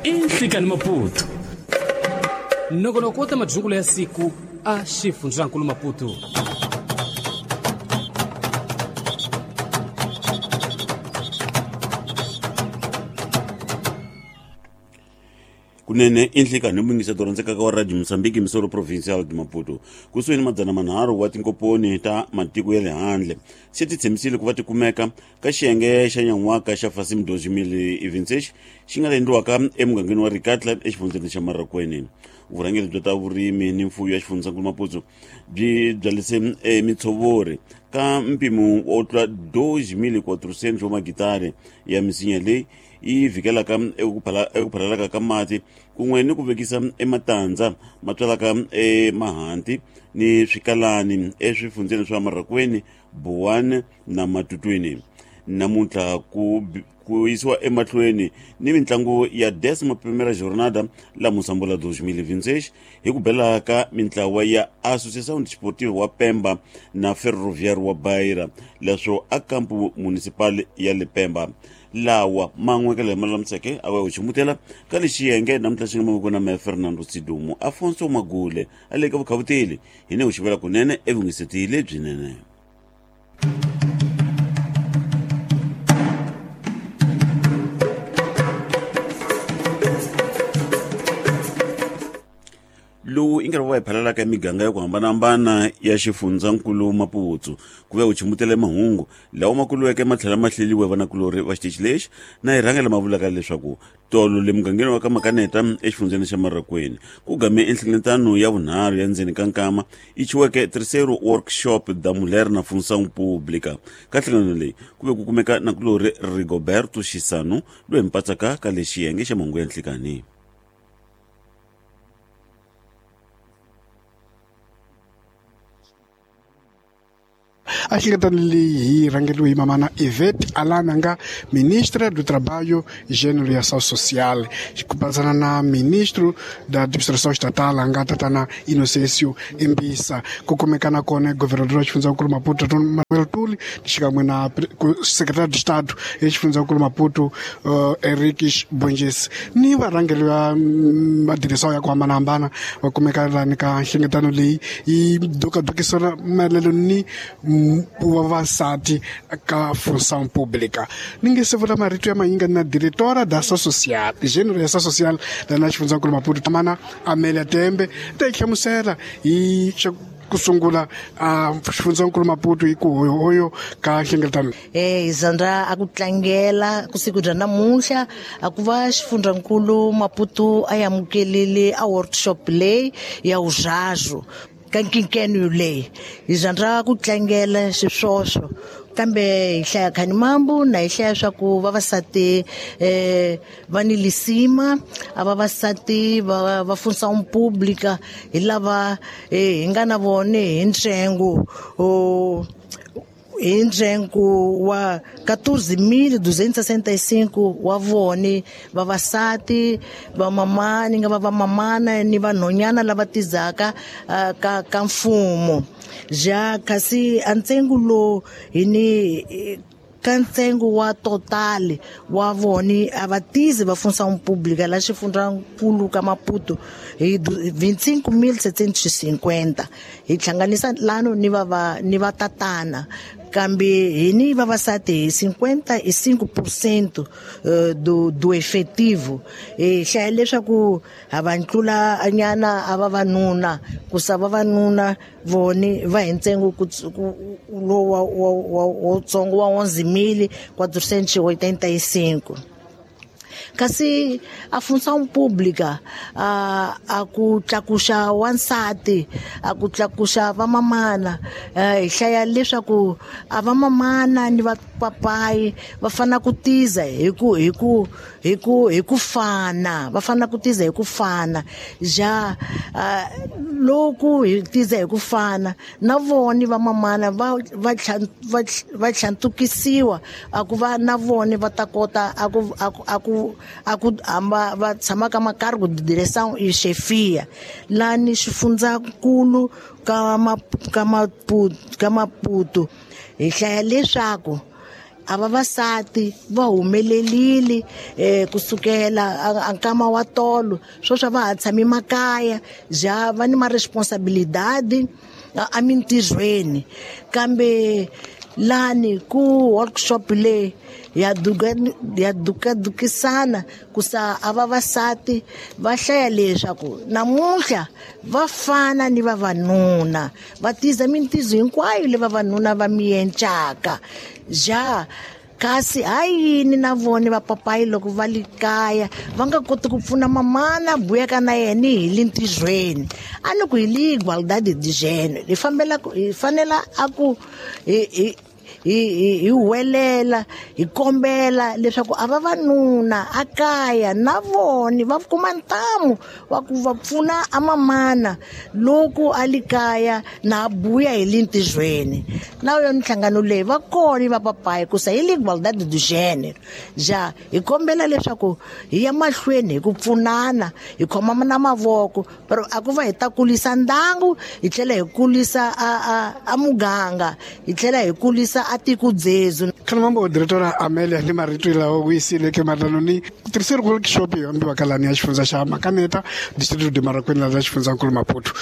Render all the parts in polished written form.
I Nhlikani Maputo. Nongonoko wa ta madyungulo ya siku a xifundzankulu Maputo. Kunene i nhlikani muyingiseti rhandzekaka wa Radio Mozambique, Misoro Provincial de Maputo. Kusuhi ni 300 wa tinkoponi ta matiko ya le handle se ti tshembisile ku va ti kumeka ka xiyenge xa nyan'waka xa Fasim 2026 xi nga endliwaka emugangeni wa Rikatla exifundzeni xa Marracuene. Vurhangeri bya ta vurimi ni mfuyo ya xifundzankulu Maputo byi byalise mitshovori ka mpimo wo tlula 2400 wa magitari ya misinya leyi yi vhikelaka eku phalalaka ka mati kun'we ni ku vekisa ematandza ma tswalaka emahanti ni swikalani eswifundzeni swa Marracuene, Boane na Matutwini. Namuntlha ku yisiwa emahlweni ni mitlangu ya Décima Primeira Jornada la Moçambola 2026 hi ku bela ka mintlawa ya Associação Desportiva wa Pemba na Ferroviário wa Beira, leswo a kampu municipal ya le Pemba. Lawa man'we ka lama lulamiseke a va u ximutela ka lexi xiyenge namuntlha xi nga mavoko na me Fernando Sidumo Afonso Magule a le ka vukhavuteli hi ne u xivela kunene evungiseti lebyinene. Lowu i nkarhi wa hi phalalaka emiganga ya ku hambanahambana ya xifundzankulu Maputo ku va u chimutele mahungu lawa ma kuluweke ma tlhela ma hleliwe vanakulorhi va xitichi lexi na hi rhangela ma vulaka leswaku tolo le mugangeni wa ka Makaneta exifundzeni xa Marracuene ku game enhlengeletano ya vunharhu ya ndzeni ka nkama yi chiweke Terceiro Workshop da Mulher na Função Pública. Ka nhlangano leyi ku ve ku kumeka nakulorhi Rigoberto Xisano loyi hi mpatsaka ka le xiyenge xa mahungu ya nhlikani. A hlengeletano leyi hi rhangeriwe hi mamana Ivete Alana nga ministra do Trabalho, Gênero e Ação Social, ku patsana na ministro da Administração Estatal nga tatana Inocêncio Imbisa. Ku kumeka na kona governador wa xifundzankulu Maputo Tatana Manuel Tuli xikan'we na secretary de Estado ya xifundzankulu Maputo Henriques Bonges ni varhangeri va madirisa ya ku hambanahambana va kumeka lani ka nhlengeletano leyi yi dokadokisana maelelo ni vavasati ka Função Pública. Ni nge se vula marito ya mayinga na diretora da Ação Social, gênero ya Ação Social lana xifundzankulu Maputo Tamana Amélia Tembe ta yi hlamusela hi ku sungula a xifundzankulu Maputo hi ku hoyo ka nhlengeletano. Hi zandra a ku tlangela ku siku bya namuntlha a ku va xifundzankulu Maputo a amukelile a workshop leyi ya uzhazo ka nkinkeno leyi. Hi zandra ku tlangela xiswoswo kambe hi hlaya Khanimambu na hi hlaya swa ku vavasati va ni lisima, a vavasati va Função Pública hi lava hi nga na vone hi ntsengo hi ntsengo wa 14.265 wa vone vavasati vamamani nga va vamamana ni vanhonyana lava tizaka ka mfumo. Ja kasi a ntsengo lowu hi ni ka ntsengo wa total wa vone a va tizi va Função Pública la xifundzankulu ka Maputo hi 25.750 hi hlanganisa lano ni va ni va tatana kambe hi ni vavasati hi 55% do efetivo. Hi hlaya leswaku ha va ntlula nyana a vavanuna ku sa vavanuna vone va hi ntsengo lowu wutsongo wa 11.485. Kasi a Função Pública a ku tlakuxa wansati a ku tlakuxa vamamana hi hlaya leswaku a vamamana ni vapapayi va fana ku tiza hi ku hi ku hi ku hi ku fana va fana ku tiza hi ku fana ja loko hi tiza hi ku fana na voni vamamana va va va tlhantukisiwa a ku va na voni va ta kota a ku a ku a ku hamba va tshama ka makargo de direção e chefia lani xifundzankulu ka Maputo. Hi hlaya leswaku a vavasati va humelelile kusukela a nkama wa tolo sweswi va ha tshami makaya ja va ni ma-responsabilidade a mintirhweni kambe lani ku workshop leyi ya dukadukisana ku sa a vavasati va hlaya leswaku namuntlha va fana ni vavanuna va tiza mintizo hinkwayo leyi vavanuna va miencaka ja kasi ha yini na vona vapapayi loko va le kaya va nga koti ku pfuna mamana buyaka na yena hi le ntirhweni a ni ku hi le igualdade de gênero hi fambela hi fanela a ku hi hi huwelela hi kombela leswaku a vavanuna a kaya na vona va kuma ntamu wa ku va pfuna a mamana loko a le kaya na buya hi le ntirhweni na yo minhlangano leyi va kona va papayi ku sa hi le igualdade de gênero ja hi kombela leswaku hi ya mahlweni hi ku pfunana hi khomana na mavoko pero a ku va hi ta kulisa ndangu hi tlhela hi kulisa a muganga hi tlhela hi kulisa a tiko dzezu. Khalamambo diretora Amelia ni marito lawa ku yisile ke matanoni terceiro workshop yo ambiwa kalani ya xifundza xa Makaneta distrito de Marracuene la xifundzankulu Maputo.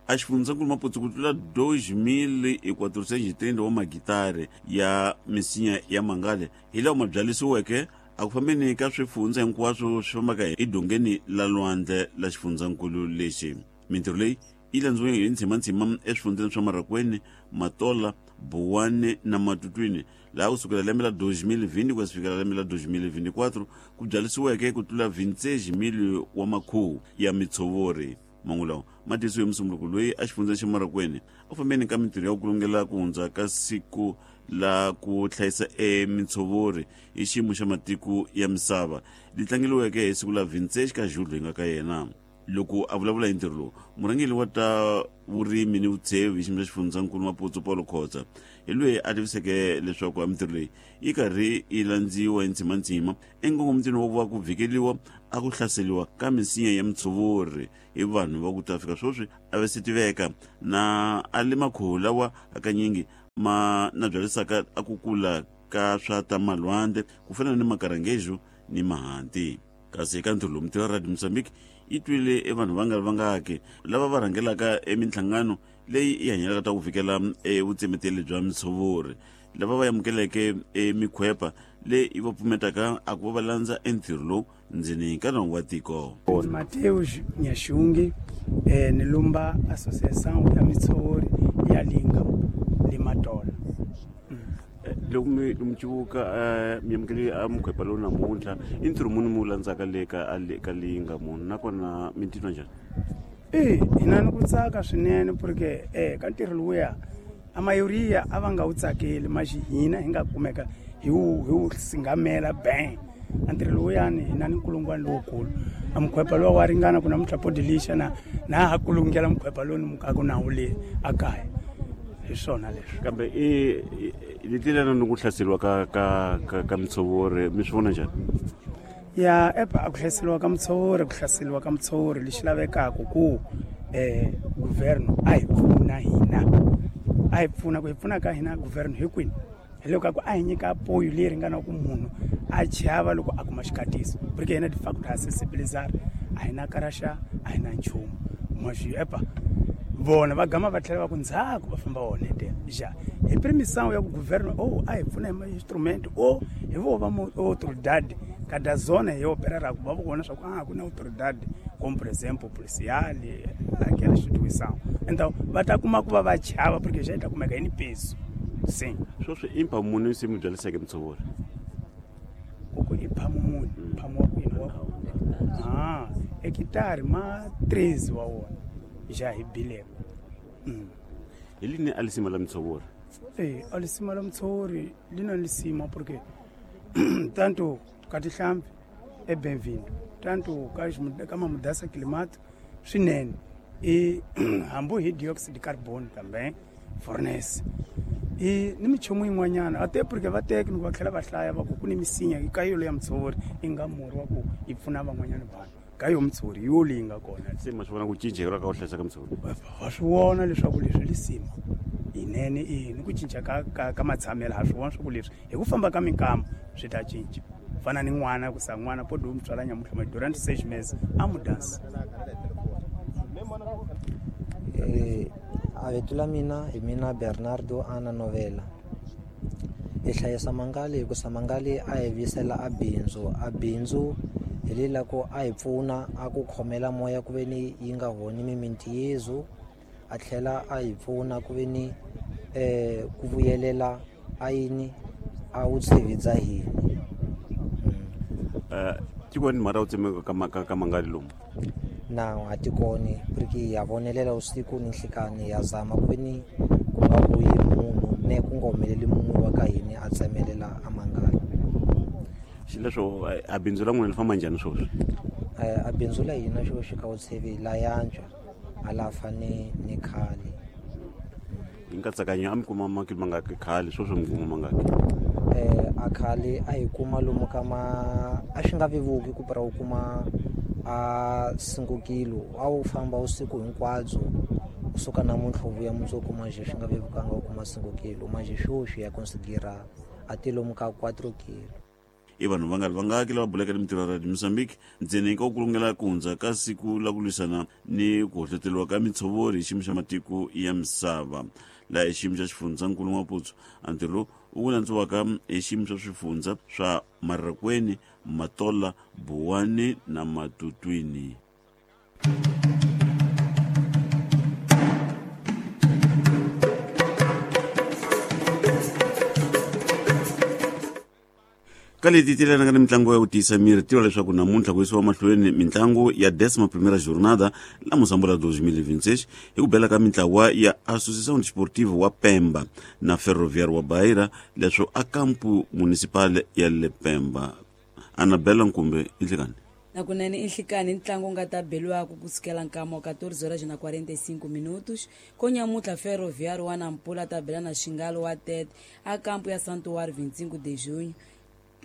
A xifundzankulu Maputo ku tlula 2430 wa magitari ya misinya ya mangale hi lawa ma byalisiweke a ku fambeni ka swifundza hinkwaswo swi fambaka edongeni la lwandle la xifundzankulu lexi. Mintirho leyi yi landziwe hi ntsimantsima eswifundzeni swa Marracuene, Matola, Buwane na Matutwini laha kusukela lembe la 2020 ku ya fikela lembe la 2024 ku byalisiweke ku tlula 26,000 wa makhuhu ya mitshovori. Mangu lawa ma tisiwe musunguluko loyi a xifundzeni xa Marracuene a fambeni ka mintirho ya ku kulungela ku hundza ka siku la ku hlayisa emitshovori hi xiyimo xa matiko ya misava li tlangeliweke hi siku la 26 ka Julho hi nga ka yena. Loko a vulavula hi ntirho lowu murhangeri wa ta vurimi ni vutsheve hi xiyimo xa xifundzankulu Maputo Paulo Khotsa hi loyi a tiviseke leswaku a mintirho leyi yi karhi yi landziwa hi ntsimantsima enkongomitweni wa ku va ku vhikeliwa a ku hlaseliwa ka misinya ya mitshovori hi vanhu va ku ta fika sweswi a va se tiveka na a le makhuhu lawa hakanyingi ma na byalisaka a ku kula ka swa ta malwandle ku fana ni makarangejo ni mahanti. Kasi eka ntirho lowu mintirho ya Radio Mozambique yi twile e vanhu va nga ri vangaki lava va rhangelaka eminhlangano leyi yi hanyelaka ta ku fikela evutsemeteli bya mitshovori lava va amukeleke emikhwepa leyi yi va pfumetaka a ku va va landza entirho lowu ndzeni ka nawu wa tiko. Mateus Nyashungi ni lumba associação ya mitshovori ya Linga le Matola. Loko mi civuka mi amukele a mukhwepa lowu namuntlha i ntirho muni mi wu landzaka le ka Linga munhu nakona mi titwa njhani? Hina ni ku tsaka swinene porque ka ntirho lowuya a mayoria a va nga wu tsakeli maxi hina hi nga kumeka hi wu singamela bang. A ntirho lowuyani hina ni nkulungwana lowukulu a mukhwepa lowa wa ringana ku namuntlha podilisha na ha kulungela mukhwepa lowu ni mukaka nawu le a kaya. Hi swona leswi. Kambe i letilana ni ku hlaseriwa ka mitshovori mi swi vona njhani? Ya epa a ku hlaseriwa ka mitshovori ku hlaseriwa ka mitshovori lexi lavekaka ku governo a hi pfuna hina a hi pfuna ku hi pfuna ka hina governo hi kwini hi loko ku a hi nyika apoyo leyi ringanaka ku munhu a chava loko a kuma xikatiso porque hina de facto ha sensibilizar a hi na karaxa a hi na nchumu maxi epa vona va gama va tlhela va ku ndzhaku va famba onhetela ja hi permissão ya ku governo a hi pfuna hi ma-instrument hi vo va autoridade kada zona hi operaraka va vona swa ku a ku na autoridade como por exemplo policial aquela instituição então va ta kuma ku va va chava porque já ta kumeka hi ni peso sim. Sweswi i mphamu muni se mi byaliseke mitshovori? Ku i mphamu muni mphamu wa kwini wa hekitari ma 13 wa wona ja hi bileko. Hi lini a lisima la mitshovori? A lisima la mitshovori lina lisima porque tanto ka tihlampfi e bem-vindo tanto ka mudança climática swinene i hambi hi dioxide carbon também fornece i ni minchumu yin'wanyana a te porque va teki va tlhela va hlaya va ku ku ni misinya ka yolo ya mitshovori yi nga murhi wa ku yi pfuna van'wanyana vanhu ka yo mitshovori yo leyi nga kona. Se ma swi vona ku cinceka ka ku hlayisa ka mitshovori? Va swi vona leswaku leswi lisima Yinene i ni ku cinca ka matshamelo ha swi vona swa ku leswi hi ku famba ka minkama swi ta cinca. Fana ni n'wana ku sa n'wana pode u mutswala nyamutlha ma durante 6 meses a mudansa. A vito la mina hi mina Bernardo Ana Novela. Hi hlayisa mangali hikusa mangali a hi vuyisela a bindzu. A bindzu hi lela ku a hi pfuna a ku khomela moya ku ve ni yi nga honi mimiti yezu, a tlhela a hi pfuna ku ve ni ku vuyelela a yini a wu tshevidza hina. Tikoni mara u tsemeka ka mangali lomu? Na a tikoni porque ya vonelela usiku ni nhlikani ya zama ku ve ni ku nga vuyi munhu ne ku nga humeleli munhu wa ka hina a tsemelela a mangali. Xileswo a bindzu la n'wina li famba njhani sweswi? A bindzu la hina xo ka Vutshevi la yantswa a la fani ni khale. Hi nkatsakanyo a mi kuma makilo mangaki khale, sweswi mi kuma mangaki? A khale a hi kuma lomu ka ma a swi nga vevuki ku pira u kuma a 5 kilo, a wu famba usiku hinkwabyo kusuka namuntlha u vuya mundzuku manje swi nga vevukanga u kuma 5 kilo, manje sweswi ya considera a ti lomu ka 4 kilo. I vanhu vangari vangaki lava bulaka ni mintirho ya Radio Mozambique ntsena ka ku kulungela ku hundza ka siku la ku lwisana ni ku hohloteriwa ka mitshovori hi xiyimo xa matiko ya misava. Laha hi xiyimo xa xifundzankulu Maputo, a ntirho lowu wu ku landziwaka hi xiyimo xa swifundza swa Marikweni, Matola, Buwani na Matutwini. Ka leti ti lelanaka ni mitlangu ya ku tiyisa miri, tiva leswaku namuntlha ku yisiwa mahlweni mitlangu ya décima primeira jornada la Moçambola 2026 hi ku bela ka mintlawa ya Associação Desportiva wa Pemba na Ferroviário wa Beira, leswo a kampu municipal ya le Pemba. Anabela Nkumbe, inhlikani. Nakunene inhlikani ntlangu wu nga ta beliwaka kusukela nkama wa 14:45 minutos. Konyamutlha Ferroviário wa Nampula ta bela na Xingalo wa Tete a kampu ya Santuário 25 de Junho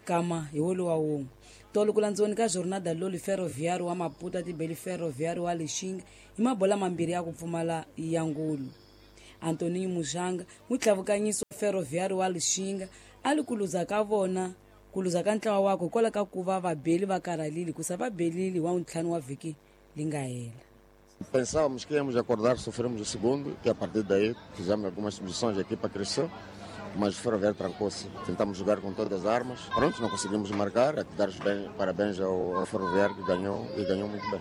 kama hi wolowo wa wun'we. Tolo ku landziweni ka jornada loli Ferroviário wa Maputo a tibeli Ferroviário wa Lixinga hi mabola mambirhi ya ku pfumala ya ngulu. Antoninho Mujanga mutlavukanyiso wa Ferroviário wa Lixinga a li ku luza ka vona ku luza ka ntlawa wakwe hikwalaho ka ku va vabeli va karhalile hikusa va belile wa ntlhanu wa vhiki li nga hela. Pensávamos que íamos acordar, sofremos o segundo e a partir daí fizemos algumas substituições, a equipa cresceu, mas o Ferroviário trancou-se. Tentamos jogar com todas as armas, pronto, não conseguimos marcar, a dar os parabéns ao Ferroviário que ganhou e ganhou muito bem.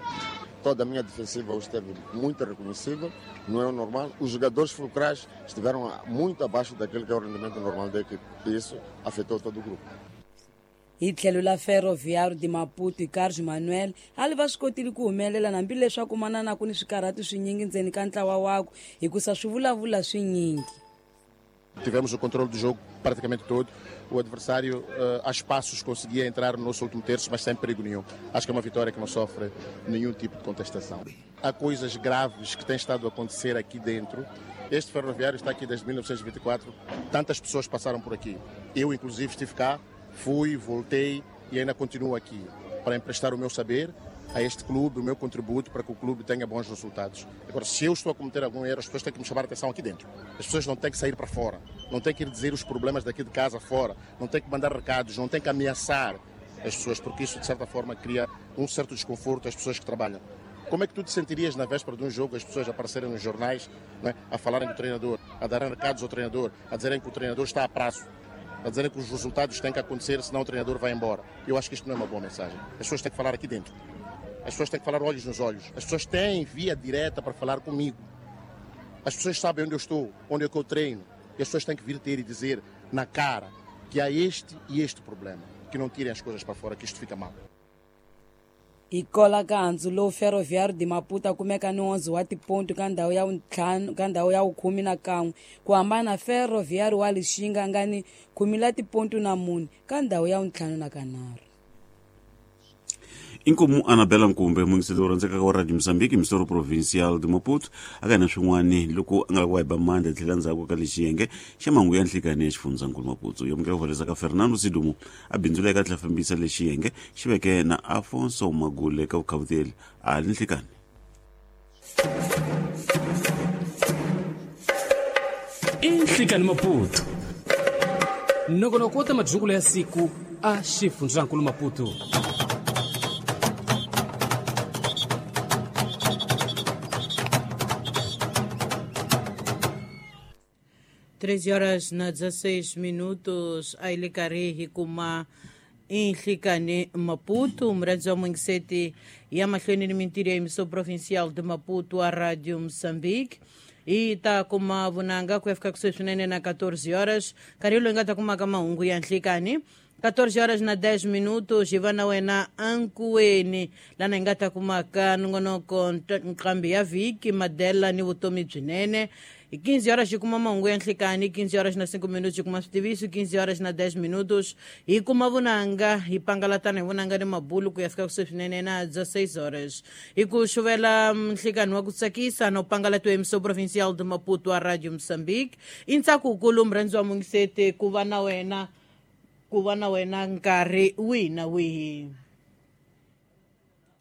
Toda a minha defensiva hoje esteve muito reconhecível, não é o normal. Os jogadores fulcrais estiveram muito abaixo daquilo que é o rendimento normal da equipe e isso afetou todo o grupo. Hi tlhelo la Ferroviário de Maputo hi Carlos Manuel a li va swi kotile ku humelela hambileswaku manana ku ni swikarhati swinyingi ndzeni ka ntlawa wakwe hikusa swi vulavula swinyingi. Tivemos o controle do jogo praticamente todo. O adversário, a espaços, conseguia entrar no nosso último terço, mas sem perigo nenhum. Acho que é uma vitória que não sofre nenhum tipo de contestação. Há coisas graves que têm estado a acontecer aqui dentro. Este Ferroviário está aqui desde 1924. Tantas pessoas passaram por aqui. Eu, inclusive, estive cá, fui, voltei e ainda continuo aqui para emprestar o meu saber a este clube, o meu contributo para que o clube tenha bons resultados. Agora, se eu estou a cometer algum erro, as pessoas têm que me chamar a atenção aqui dentro. As pessoas não têm que sair para fora, não têm que ir dizer os problemas daqui de casa fora, não têm que mandar recados, não têm que ameaçar as pessoas, porque isso, de certa forma, cria um certo desconforto às pessoas que trabalham. Como é que tu te sentirias na véspera de um jogo, as pessoas aparecerem nos jornais, não é, a falarem do treinador, a darem recados ao treinador, a dizerem que o treinador está a prazo, a dizerem que os resultados têm que acontecer, senão o treinador vai embora? Eu acho que isto não é uma boa mensagem. As pessoas têm que falar aqui dentro. As pessoas têm que falar olhos nos olhos. As pessoas têm via direta para falar comigo. As pessoas sabem onde eu estou, onde é que eu treino. E as pessoas têm que vir ter e dizer na cara que há este e este problema. Que não tirem as coisas para fora, que isto fica mal. Hi kola ka handzu lowu Ferroviário de Maputo a kumeka ni 11 wa tiponto ka ndhawu ya ntlhanu ka ndhawu ya 11 ku hambana na Ferroviário wa Lixinga nga ni 10 la tiponto na 4 ka ndhawu ya 53. Inkomu Anabela Nkumbe, muyingiseri wo rhandzekaka wa Radio Mozambique, Misoro Provincial de Maputo, aka na swin'wani loko a nga lava ku ba mandla tlhela ndzhaku ka lexiyenge xa mahungu ya nhlikani ya xifundzankulu Maputo. Yo amukela ku valesa ka Fernando Sidumo a bindzula eka tlhela fambisa lexiyenge xi veke na Afonso Magule ka vukhavuteli a li nhlikani. Nhlikani Maputo. Nongonoko wa ta madzukulo ya siku a xifundzankulu Maputo. 3 horas na 16 minutos, a hi le karhi hi kuma Inhlikani Maputo, murhandzi wa mungiseti ya mahlweni ni mintirho ya emissão provincial de Maputo a Rádio Moçambique. Hi ta kuma vunanga ku ya fika kusuhi swinene na 14 horas, nkarhi loyi nga ta kumaka mahungu ya nhlikani. 14 horas na 10 minutos, hi va na wena ankuweni, lana hi nga ta kumaka nongonoko nqambi ya vhiki, madela ni vutomi byinene. Hi 15 horas hi kuma mahungu ya nhlikani. 15 horas na 5 minutos hi kuma switiviso. 15 horas na 10 minutos hi kuma vunanga, hi pangalatana hi vunanga ni mabulu ku ya fika kusuhi swinene na 16 horas. Hi ku xuvela nhlikani wa ku tsakisa no pangalatiwa emissão provincial de Maputo a Radio Moçambique. I ntsako wukulu, murhandzi wa mungiseti, ku va na wena, ku va na wena nkarhi wihi na wihi.